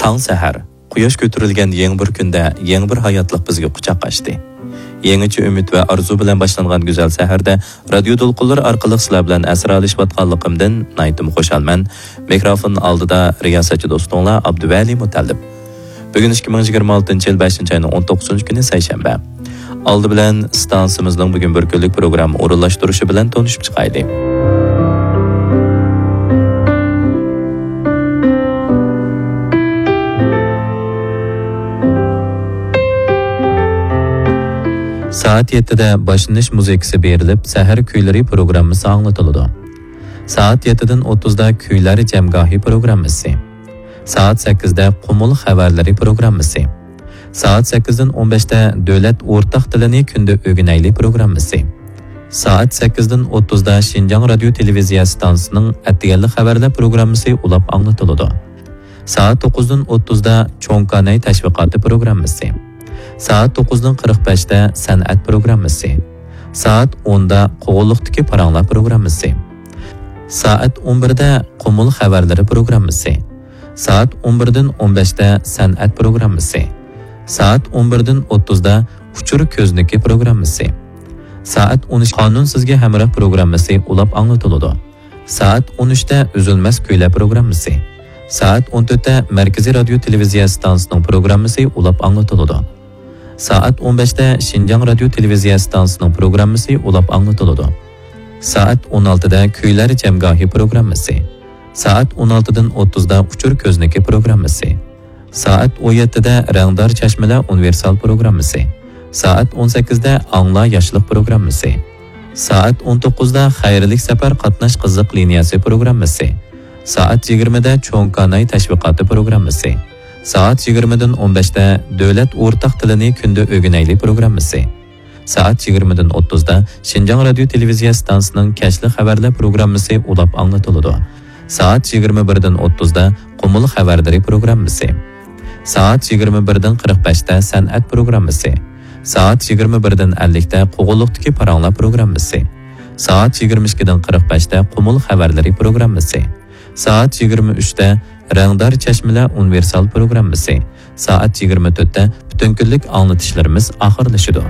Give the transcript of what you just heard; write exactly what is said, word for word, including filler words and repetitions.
تاڭ سەھەر، قۇياش كۆتۈرۈلگەن يېڭى بىر كۈندە يېڭى بىر ھاياتلىق بىزگە قۇچاق ئاچتى. يېڭىچە ئۈمىد ۋە ئارزۇ بىلەن باشلانغان گۈزەل سەھەردە رادىيو دولقۇنلىرى ئارقىلىق سىلەر بىلەن ئەسرالىشىۋاتقانلىقىمدىن ناھايىتىمۇ خۇشالمەن. مىكروفون ئالدىدا رىياسەتچى دوستۇڭلار ئابدۇۋەلى مۇتەللىپ. بۈگۈن ئىككى مىڭ يىگىرمە ئالتىنچى يىل بەشىنچى ئاينىڭ ئون توققۇزىنچى كۈنى، سەيشەنبە. ئالدى بىلەن ئىستانسىمىزنىڭ بۈگۈن بىر كۈنلۈك پروگرامما ئورۇنلاشتۇرۇشى بىلەن تونۇشۇپ چىقايلى. سائەت يەتتىدە باشلىنىش مۇزىكىسى بېرىلىپ، سەھەر كۈيلىرى پروگراممىسى ئاڭلىتىلىدۇ. سائەت يەتتىدىن ئوتتۇزدا كۈيلەر جەمگاھى پروگراممىسى. سائەت سەككىزدە قۇمۇل خەۋەرلىرى پروگراممىسى. سائەت سەككىزدىن ئون بەشتە دۆلەت ئورتاق تىلىنى كۈندە ئۆگىنەيلى پروگراممىسى. سائەت سەككىزدىن ئوتتۇزدا شىنجاڭ رادىيو تېلېۋىزىيە ئىستانسىسىنىڭ ئەتىگەنلىك خەۋەرلەر پروگراممىسى ئۇلاپ ئاڭلىتىلىدۇ. سائەت توققۇزدىن ئوتتۇزدا چوڭ كاناي تەشۋىقاتى پروگراممىسى. سائەت توققۇزدىن قىرىق بەشتە سەنئەت پروگراممىسى. سائەت ئوندا قوغۇنلۇقتىكى پاراڭلار پروگراممىسى. سائەت ئون بىردە قۇمۇل خەۋەرلىرى پروگراممىسى. سائەت ئون بىردىن ئون بەشتە سەنئەت پروگراممىسى. سائەت ئون بىردىن ئوتتۇزدا ئۇچۇر كۆزنىكى پروگراممىسى. سائەت ئون ئىككى قانۇن سىزگە ھەمراھ پروگراممىسى ئۇلاپ ئاڭلىتىلىدۇ. سائەت ئون ئۈچتە ئۈزۈلمەس كۈيلەر پروگراممىسى. سائەت ئون تۆتتە مەركىزىي رادىيو تېلېۋىزىيە ئىستانسىسىنىڭ پروگراممىسى ئۇلاپ ئاڭلىتىلىدۇ. سائەت ئون بەشتە شىنجاڭ رادىيو تېلېۋىزىيە ئىستانسىسىنىڭ پروگراممىسى ئۇلاپ ئاڭلىتىلىدۇ. سائەت ئون ئالتىدە كۈيلەر جەمگاھى پروگراممىسى. سائەت ئون ئالتىدىن ئوتتۇزدا ئۇچۇر كۆزنىكى پروگراممىسى. سائەت ئون يەتتىدە رەڭدار چەشمىلەر ئۇنىۋېرسال پروگراممىسى. سائەت ئون سەككىزدە ئاڭلا ياشلىق پروگراممىسى. سائەت ئون توققۇزدا خەيرلىك سەپەر قاتناش قىزىق لىنىيەسى پروگراممىسى. سائەت يىگىرمىدە چوڭ كاناي تەشۋىقاتى پروگراممىسى. سائەت يىگىرمىدىن ئون بەشتە دۆلەت ئورتاق تىلىنى كۈندە ئۆگىنەيلى پروگراممىسى. سائەت يىگىرمىدىن ئوتتۇزدا شىنجاڭ رادىيو تېلېۋىزىيە ئىستانسىسىنىڭ كەچلىك خەۋەرلەر پروگراممىسى ئۇلاپ ئاڭلىتىلىدۇ. سائەت يىگىرمە بىردىن ئوتتۇزدا قۇمۇل خەۋەرلىرى پروگراممىسى. سائەت يىگىرمە بىردىن قىرىق بەشتە سەنئەت پروگراممىسى. سائەت يىگىرمە بىردىن ئەللىكتە قوغۇنلۇقتىكى پاراڭلار پروگراممىسى. سائەت يىگىرمە ئىككىدىن قىرىق بەشتە قۇمۇل خەۋەرلىرى پروگراممىسى. سائەت يىگىرمە ئۈچتە رەڭدار چەشمىلەر ئۇنىۋېرسال پروگراممىسى. سائەت يىگىرمە تۆتتە پۈتۈن كۈنلۈك ئاڭلىتىشلىرىمىز ئاخىرلىشىدۇ.